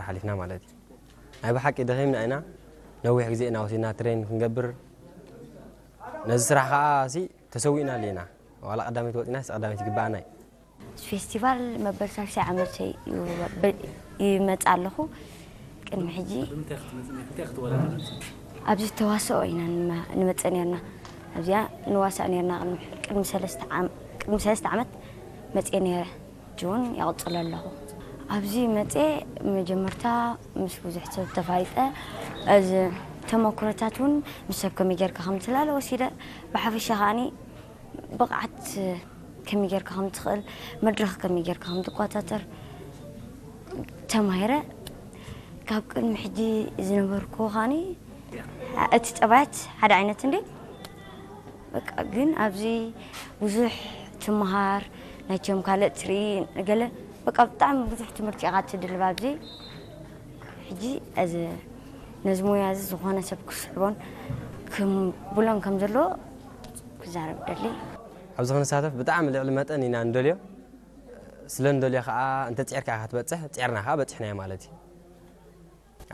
ሓሊፍና ማለት እዩ። ናይ ብሓቂ ደኺምና ኢና። ነዊሕ ግዜ ኢና ወሲድና ትሬን ክንገብር። ነዚ ስራሕ ከዓ ሲ ተሰዊእናሉ ኢና። ዋላ ቀዳመይቲ ወፂና ሲ ቀዳመይቲ ይግባኣና እዩ። ፌስቲቫል መበል ሳልሳይ ዓመት እዩ በ- ይመጽእ ኣለኹ። ቅድሚ ሕጂ ኣብዚ ተዋስኦ ኢና ንመ- ንመጽእ ነርና። ኣብዚኣ ንዋሳእ ነርና። ቅድሚ- ቅድሚ ሰለስተ ዓም- ቅድሚ ሰለስተ ዓመት መጽእ ነረ። ሕጂ እውን ይቕጽሎ ኣለኹ። ኣብዚ መጽእ መጀመርታ ምስ ብዙሕ ሰብ ተፋይጠ። እዚ ተመክሮታት እውን ምስ ሰብ ከመይ ጌርካ ከም ትላለ ወሲደ። ብሓፈሻ ከዓኒ ብቕዓት ከመይ ጌርካ ከም ትኽእል፣ መድረኽ ከመይ ጌርካ ከም ትቆጻጸር ተማሂረ። ካብ ቅድሚ ሕጂ ዝነበርኩ ከዓኒ እቲ ጠባያት ሓደ ዓይነት እንዴ። በቃ ግን ኣብዚ ብዙሕ ትምሃር፣ ናቸውም ካልእ ትርኢ፣ ገለ በቃ ብጣዕሚ ብዙሕ ትምህርቲ ኢኻ ትድልብ ኣብዚ። ሕጂ እዚ ነዚ ሞያ እዚ ዝኾነ ሰብ ክስዕቦን ክብሎን ከም ዘለዎ ክዛረብ ደሊ። ኣብዚ ክንሳተፍ ብጣዕሚ ልዕሊ መጠን ኢና ንደልዮ። ስለ ንደልዮ ከዓ እንተ ፂዕርካ ኢኻ ትበፅሕ፣ ፂዕርና ከዓ በፂሕናዮ ማለት እዩ።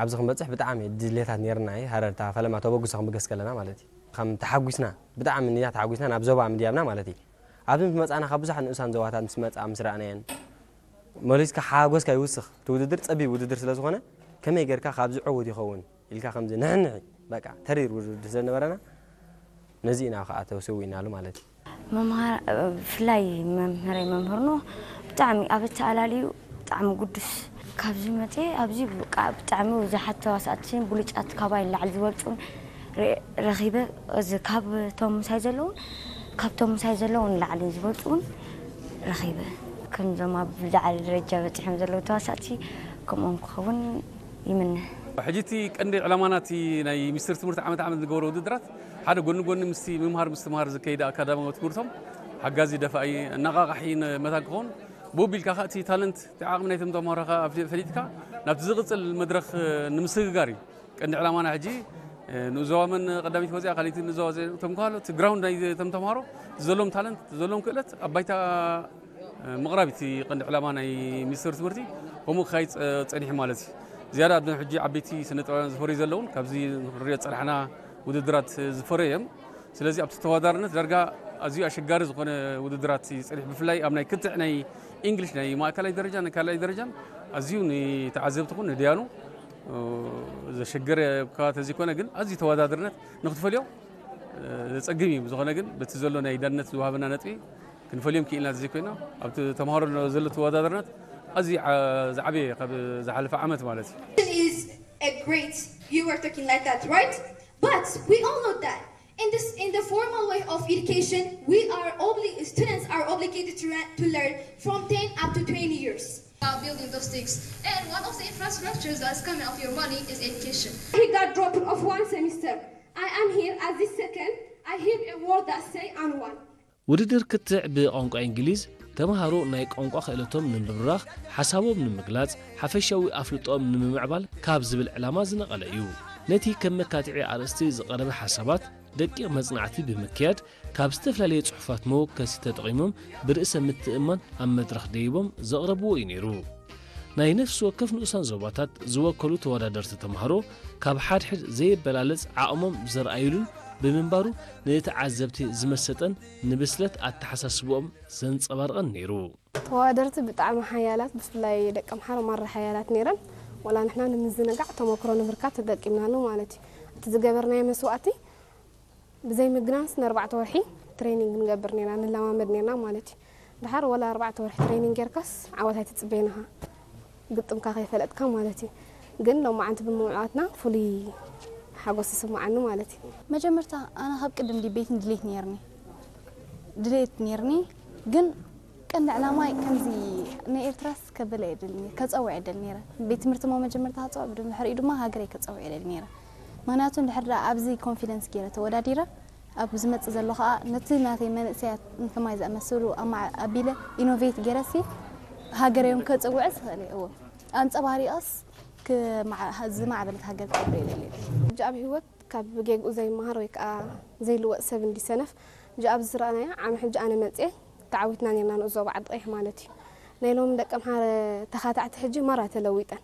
ኣብዚ ክንበፅሕ ብጣዕሚ ድሌታት ነይርና እዩ። ሃረርታ ፈለማ ተበግሶ ክንብገስ ከለና ማለት እዩ። ከም ተሓጒስና፣ ብጣዕሚ ኢና ተሓጒስና ናብ ዞባ ምድያብና ማለት እዩ። ኣብዚ ምስ መፃና ካብ ብዙሓት ንኡሳን ዞባታት ምስ መፃ ምስ ረኣናየን መሊስካ ሓጎስካ ይውስኽ። እቲ ውድድር ፀቢብ ውድድር ስለ ዝኾነ ከመይ ጌርካ ካብዚ ዕዉት ይኸውን ኢልካ ከምዚ ንሕንሒ በቃ ተሪር ውድድር ስለ ነበረና ነዚ ኢና ከዓ ተሰዊእናሉ ማለት እዩ። መምሃር ብፍላይ መምህረይ መምህርኖ ብጣዕሚ ኣብ ኣተኣላልዩ ብጣዕሚ ግዱስ። ካብዚ መፅየ ኣብዚ በቃ ብጣዕሚ ብዙሓት ተዋሳእትን ብሉጫት ካባይ ንላዕሊ ዝበልፁን ረ- ረኺበ። እዚ ካብቶም ምሳይ ዘለውን ካብቶም ምሳይ ዘለውን ንላዕሊ ዝበልፁን ረኺበ። ከምዞም ኣብ ዝለዓለ ደረጃ በፂሖም ዘለዉ ተዋሳእቲ ከምኦም ክኸውን ይምነ። ሕጂ እቲ ቀንዲ ዕላማና እቲ ናይ ሚኒስትሪ ትምህርቲ ዓመት ዓመት ዝገብሮ ውድድራት ሓደ ጎኒ ጎኒ ምስቲ ምምሃር ምስትምሃር ዝከይድ ኣካዳሚያዊ ትምህርቶም ሓጋዚ ደፋኢ ኣነቓቓሒ መታን ክኸውን ብኡ ቢልካ ከዓ እቲ ታለንት እቲ ዓቕሚ ናይቶም ተምሃሮ ከዓ ኣፍሊ- ፈሊጥካ ናብቲ ዝቕፅል መድረኽ ንምስግጋር እዩ። ቀንዲ ዕላማና ሕጂ ንኡስ ዞባ መን ቀዳሚት ወፂኣ ካልኣይቲ ንኡስ ዞባ እቶም ከሃሎ እቲ ግራውንድ ናይ እቶም ተምሃሮ ዘለዎም ታለንት ዘለዎም ክእለት ኣብ ባይታ ምቕራብ እቲ ቀንዲ ዕላማ ናይ ሚኒስትሪ ትምህርቲ ከምኡ ክካይድ ፀ- ፀኒሑ ማለት እዩ። ዝያዳ ኣብ ሕጂ ዓበይቲ ስነ ጥበባውያን ዝፈርዩ ዘለውን ካብዚ ንሪኦ ዝፀናሕና ውድድራት ዝፈረዩ እዮም። ስለዚ ኣብቲ ተወዳዳርነት ዳርጋ ኣዝዩ ኣሸጋሪ ዝኾነ ውድድራት እዩ ፀኒሑ። ብፍላይ ኣብ ናይ ክትዕ ናይ ኢንግሊሽ ናይ ማእከላይ ደረጃ ናይ ካልኣይ ደረጃን ኣዝዩ ንተዓዘብቲ ኹን ንድያኑ ዘሸገረ እኳ ተዘይኮነ ግን ኣዝዩ ተወዳዳርነት ንክትፈልዮ ዘፀግም እዩ። ብዝኾነ ግን በቲ ዘሎ ናይ ዳነት ዝወሃበና ነጥቢ ክንፈልዮም ክኢልና ዘይኮይና ኣብቲ ተምሃሮ ዘሎ ተወዳዳርነት ኣዝዩ ዓ- ዝዓበየ ካብ ዝሓለፈ ዓመት ማለት እዩ። Education is a great, you were talking like that, right? But we all know that in this in the formal way of education, we are obli- students are obligated to, re- to learn from ten up to twenty years. About building those things. And one of the infrastructures that's coming out of your money is education. He got dropped off one semester. I am here as the second. I hear a word that say unwan. ውድድር ክትዕ ብቋንቋ እንግሊዝ ተምሃሮ ናይ ቋንቋ ክእለቶም ንምብራኽ፣ ሓሳቦም ንምግላጽ፣ ሓፈሻዊ ኣፍልጦኦም ንምምዕባል ካብ ዝብል ዕላማ ዝነቐለ እዩ። ነቲ ከም መካትዒ ኣርእስቲ ዝቐረበ ሓሳባት ደቂቕ መጽናዕቲ ብምክያድ ካብ ዝተፈላለየ ጽሑፋት መወከሲ ተጠቒሞም ብርእሰ ምትእምማን ኣብ መድረኽ ደይቦም ዘቕረብዎ እዩ ነይሩ። ናይ ነፍሲ ወከፍ ንኡሳን ዞባታት ዝወከሉ ተወዳደርቲ ተምሃሮ ካብ ሓድሕድ ዘየበላለጽ ዓቕሞም ዘርኣዩሉን ብምንባሩ ንተዓዘብቲ ዝመሰጠን ንብስለት ኣተሓሳስብኦም ዘንጸባርቐን ነይሩ። ተወዳደርቲ ብጣዕሚ ሓያላት ብፍላይ ደቂ ኣምሓራ ማራ ሓያላት ነይረን ወላ ንሕና ንምዝንጋዕ ተመክሮ ንምርካብ ተጠቂምናሉ ማለት እዩ እቲ ዝገበርናዮ መስዋእቲ ብዘይ ምግናንስ ንኣርባዕተ ወርሒ ትሬኒንግ ንገብር ኔርና ንለማመድ ኔርና ማለት እዩ ድሓር ወላ ኣርባዕተ ወርሒ ትሬኒንግ ጌርካስ ዓወት ኣይትጽበይን ኢኻ ግጥምካ ከይፈለጥካ ማለት እዩ ግን ሎማዓንቲ ብምምዕዋትና ፍሉይ ሓጎስ ይስምዓኒ ማለት እዩ መጀመርታ ኣነ ካብ ቅድም ድቤትን ድሌት ኔርኒ ድሌት ኔርኒ ግን ቀንዲ ዕላማይ ከምዚ ንኤርትራስ ከበለ እየ ደሊ ነይረ ከፀውዕ እየ ደሊ ነይረ ቤት ትምህርቲ ሞ መጀመርታ ከፀውዕ ብድሕሪኡ ድማ ሃገረይ ከፀውዕ እየ ደሊ ነይረ ምክንያቱ እንድሕር ደኣ ኣብዚ ኮንፊደንስ ገይረ ተወዳዲረ ኣብ ዝመፅእ ዘሎ ከዓ ነቲ ናተይ መንእሰያት ንከማይ ዝኣመሰሉ ኣማ- ኣቢለ ኢኖቬት ገይረሲ ሃገረይ እውን ከፅውዕስ እኽእል እየ እወ ኣንፀባሪቐስ ክመዓ- ዝማዕበለት ሃገር ክገብር እየ ደሊ ሕጂ ኣብ ህይወት ካብ ጌግኡ ዘይመሃር ወይ ከዓ ዘይልወጥ ሰብ እንዲ ሰነፍ ሕጂ ኣብዚ ዝረኣናዮ ዓሚ ሕጂ ኣነ መፅየ ተዓዊትና ነርና ንኡስ ዞባ ዓዲ ቀይሕ ማለት እዩ ናይ ሎሚ ደቂ ኣምሓረ ተኻታዕቲ ሕጂ ማራ ተለዊጠን